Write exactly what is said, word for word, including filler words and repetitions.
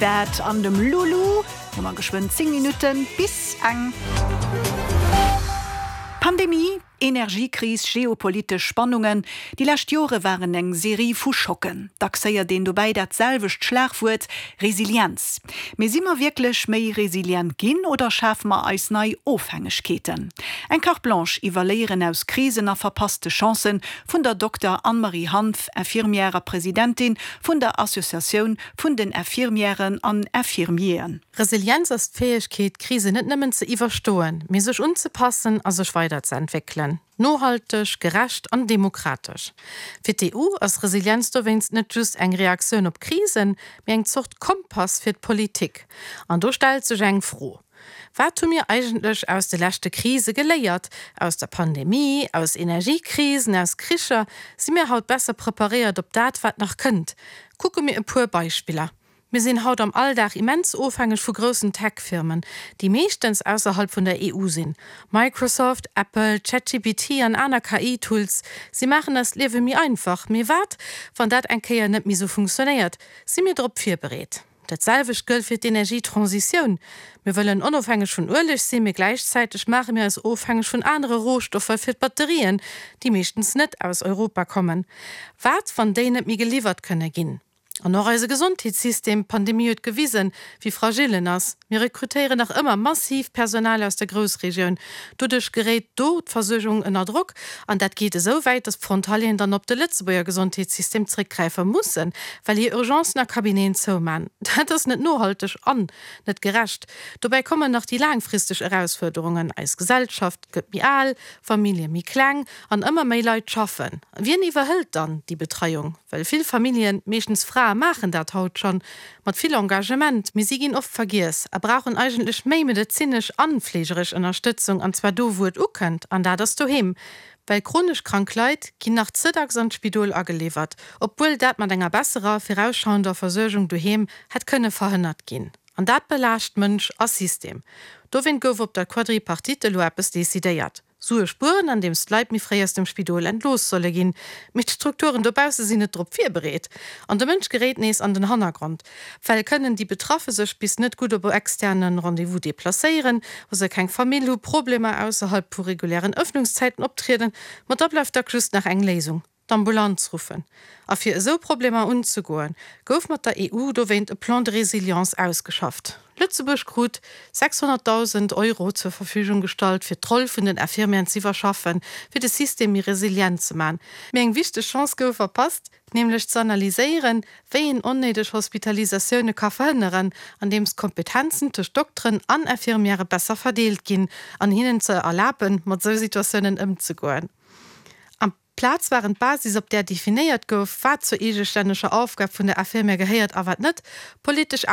That an dem Lulu, hu mer geschwënn zéng Minutten bis eng. Pandemie, Energiekris, geopolitesch Spannungen, déi lescht Jore waren eng Serie vu Schocken. Dacks héiert een dobäi dat selwecht Schlagwuert, Resilienz. Mee si mer wierklech méi resilient ginn oder schafe mer eis nei Ofhängegkeeten? Eng Carte Blanche iwwer Léieren aus Krisen a verpasste Chancen vun der Dokter Anne-Marie Hanff, Infirmière a Presidentin vun der Associatioun vun den Infirmièren an Infirmieren. Resilienz ass d'Fäegkeet, Krisen net nëmmen ze iwwerstoen, mee sech unzepassen a sech weiderzeentwéckelen. Nohalteg, gerecht an demokratesch. Fir d'E U ass Resilienz dowéinst net just eng Reaktioun op Krisen, mee eng Zort Kompass fir d'Politik. An do stellt sech eng Fro. Wat hu mir eigentlech aus de leschte Krise geléiert? Aus der Pandemie, aus Energiekrisen, aus Kricher? Si mir haut besser preparéiert op dat, wat nach kënnt? Kucke mir e puer Beispiller. Mir sinn haut am Alldag immens ofhängeg vu groussen Tech-Firmen, déi meeschtens ausserhalb vun der E U sinn. Microsoft, Apple, ChatGPT an aner K I-Tools, si maachen eist Liewe méi einfach. Mee wat, wann dat eng Kéier net méi sou funktionéiert? Si mir drop virbereet? Dat selwecht gëllt fir d'Energietransitioun. Mir wëllen onofhängeg vun Ueleg sinn, mee gläichzäiteg maache mir eis ofhängeg vun anere Rohstoffer fir d'Batterien, déi meeschtens net aus Europa kommen. Wat, wann déi net méi geliwwert kënne ginn? An och eise Gesondheetssystem, d'Pandemie huet gewisen, wéi fragil en ass. Mir rekrutéieren nach ëmmer massiv Personal aus der Groussregioun. Doduerch geréit do d'Versuergung ënner Drock. An dat geet esou wäit, datt d'Frontalieren dann op de Lëtzebuerger Gesondheetssystem zréckgräife mussen, well hir Urgencen a Cabineten zouman. Dat ass net nohalteg an net gerecht. Dobäi kommen nach déi laangfristeg Erausfuerderungen, Eis Gesellschaft gëtt méi al, Famillje méi kleng an ëmmer méi Leit schaffen. Wien iwwerhëlt dann déi Betreiung? Well vill Familljen, meeschtens Frae maachen dat haut schonn mat vill Engagement, mee si ginn oft vergiess a brauchen eigentlech méi medezinesch an fleegeresch Ënnerstëtzung, an zwar do wou et ukënnt, an dat ass doheem. Well chronesch krank Leit ginn nach ze dacks an d'Spidol ageliwwert, obwuel dat mat enger besserer, virausschauender Versuergung doheem hätt kënne verhënnert ginn. An dat belaascht Mënsch a System. Dowéint gouf op der Quadripartite elo eppes decidéiert. Sue spueren, andeems d'Leit méi fréi aus dem Spidol entlooss solle ginn. Mee d'Strukturen dobausse sinn net drop virbereet. An de Mënsch geréit nees an den Hannergrond. Well kënnen déi Betraffe sech bis net gutt op e externe Rendez-vous deplacéieren, wa se keng Famill hu, Problemer ausserhalb vu regulären Ëffnungszäiten optrieden, ma da bleift dacks just nach eng Léisung, d'Ambulanz ruffen. A fir esou Problemer unzegoen, gouf mat der E U dowéint e Plan de résilience ausgeschafft. Lëtzebuerg krut sechshonnertdausend Euro zur Verfügung gestallt, fir d'Roll vun den Infirmieren z'iwwerschaffen, fir de System méi resilient ze man. Mee eng wichteg Chance gouf verpasst, nämlech ze analyséieren, wéi een onnéideg Hospitalisatioune ka verhënneren, andeems d'Kompetenzen tëscht Dokteren an Infirmiere besser verdeelt ginn an hinnen ze erlaben, mat sou Situatiounen ëmzegoen. Amplaz waren d'Basis, op där definéiert gouf, wat zur eegestänneger Aufgab vun der Infirmière gehéiert a wat net, politesch